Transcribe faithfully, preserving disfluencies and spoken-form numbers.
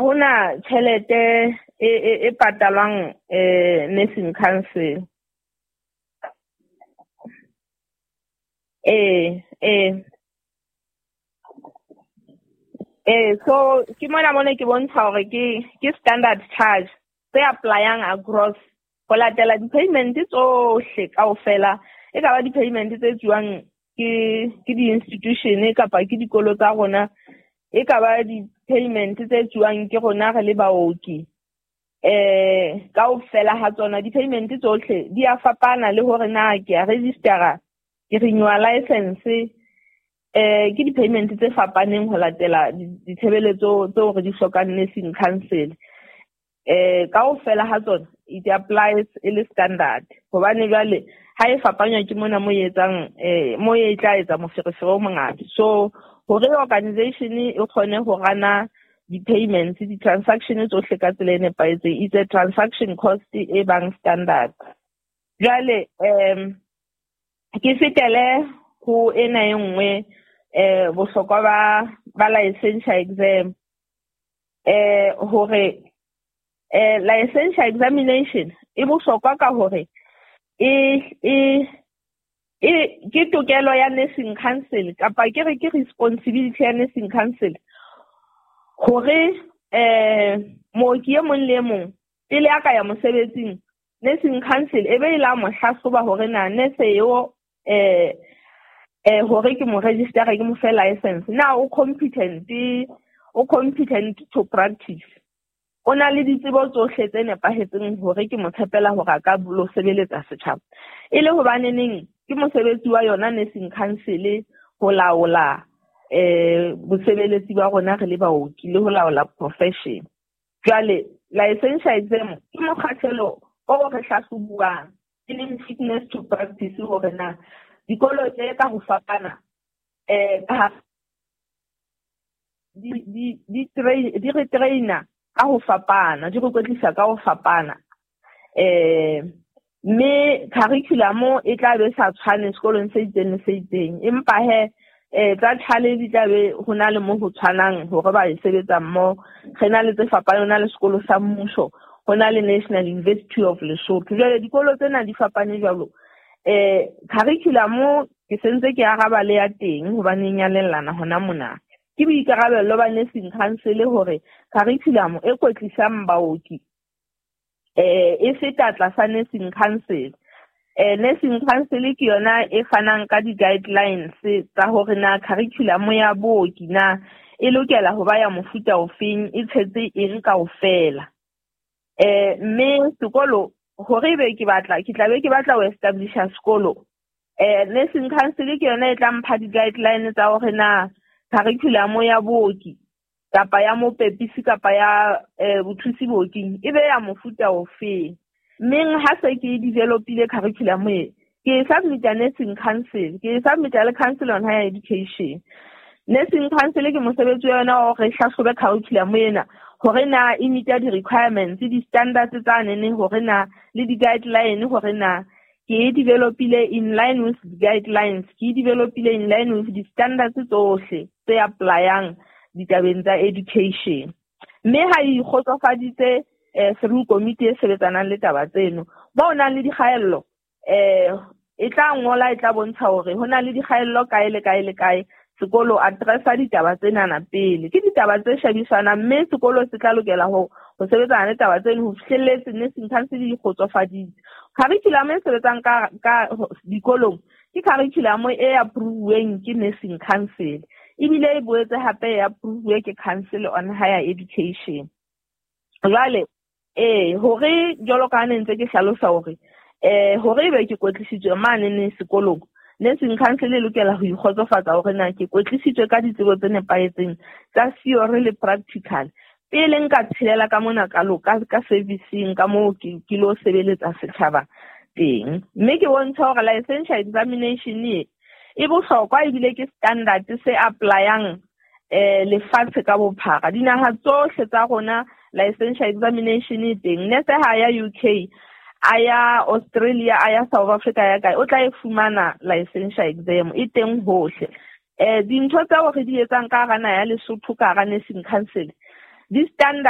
hona tjhelete e e, e patalwang eh nursing council. Eh eh eh so ke mona mona ke bontsha hore ke ke standard charge tse applyang across ho latela di-payment tsohle kaofela, e ka ba di-payment tse tsuwang ke ke di-institution kapa ke dikolo tsa rona, e ka ba di-payment tse tsuwang ke rona re le baoki. Eh kaofela ha tsona di-payment tsohle di a fapana le hore na ke a registera, ke renewa license, eh ke di-payment tse fapaneng ho latela ditshebeletso tseo re di hlokang nursing council. Eh kaofela ha tsona it applies e le standard, hobane jwale ha e fapanywa ke mona mo e etsang eh mo e tla etsa moferefere o mongata. So hore organization e kgone ho rana di-payments, di-transaction tsohle ka tsela e nepahetseng, it's a transaction cost e bang standard. Jwale um ke fetele ho ena e nngwe eh bohlokwa ba ba licensure exam, eh hore eh licensure examination e bohlokwa ka hore e e e ke tokelo ya nursing council kapa ke re ke responsibility ya nursing council hore eh mooki e mong le e mong pele a ka ya mosebetsing, nursing council e be e la mo hlahloba hore na nurse eo eh eh hore ke mo register ke mo fe license, na o competent, o competent to practice, o na le ditsebo tsohle tse nepahetseng hore ke mo tshepela hore a ka lo sebeletsa setjhaba. E le hobaneneng ke mosebetsi wa yona nursing council ho laola eh bosebeletsi ba rona re le baoki le ho laola profession. Jwale licensure exam ke mokgahlelo o re hlahlobuwang, e leng fitness to practice, hore na dikolo tse ka ho fapana eh ka di di di train di re trainer ka ho fapana, di re kwetlisa ka ho fapana, eh mme curriculum e tla be sa tshwane sekolong se itseng le se itseng, empa he eh tsa tshale di tla be ho na le mo ho tshwanang hore ba e sebetsa mmoho. Re na le tse fapaneng, ho na le sekolo sa mmuso, ho na le National University of Lesotho. Jwale dikolo tsena di fapane jwalo. Eh curriculum ke sentse ke araba le ya teng hobane e nyalellana hona mona. Ke boikarabello ba nursing council hore curriculum e kwetlisang baoki eh e feta tlasa nursing council. Eh nursing council ke yona e fanang ka di-guidelines tsa hore na curriculum ya booki na e lokela ho ba ya mofuta ofeng, e tshetse eng kaofela. Eh mme sekolo hore ebe ke batla ke tla be ke batla ho establisha sekolo, eh nursing council ke yona e tla mpha di-guidelines tsa hore na curriculum ya booki kapa ya mopepisi kapa ya eh bothusi booking e be ya mofuta ofeng. Mmeng ha se ke developile curriculum e, ke e submita nursing council, ke e submita le Council on Higher Education. Nursing council ke mosebetsi wa yona hore e hlahlobe curriculum ena hore na e meeta di-requirements, di-standards tsa nene, hore na le di-guideline, hore na ke e developile in line with the guidelines, ke e developile in line with di-standards tsohle tse applyang ditabeng tsa education. Mme ha e ikgotsofaditse eh through committee e sebetsanang le taba tseno, ba o nang le dikgaello eh e tla ngola, e tla bontsha hore ho na le dikgaello kae le kae le kae, sekolo addressa ditaba tsenana pele. Ke ditaba tse shebisanang, mme sekolo se tla lokela ho ho sebetsana le taba tseno ho fihlelletse nursing council di kgotsofaditse. Curriculum e sebetsang ka ka dikolong ke curriculum e approve-weng ke nursing council, ebile e boetse hape e approve-we ke Council on Higher Education. Jwale eh hore jwalo ka ne ntse ke hlalosa hore eh hore ebe ke kwetlisitswe mane ne sekolong, nursing council e lokela ho ikgotsofatsa hore na ke kwetlisitswe ka ditsebo tse nepahetseng tsa theory le practical pele nka tshelela ka mona ka loka ka servicing ka moo ke ke lo sebeletsa setjhaba teng. Mme ke bontsha hore licensure examination e e bohlokwa ebile ke standard se applyang eh lefatshe ka bophara. Dinaha tsohle tsa rona licensure examination e teng. Nese ha ya U K, a ya Australia, a ya South Africa, ya kae, o tla e fumana licensure exam e teng hohle. Eh dintho tseo re di etsang ka hara naha ya Lesotho ka hara nursing council di standard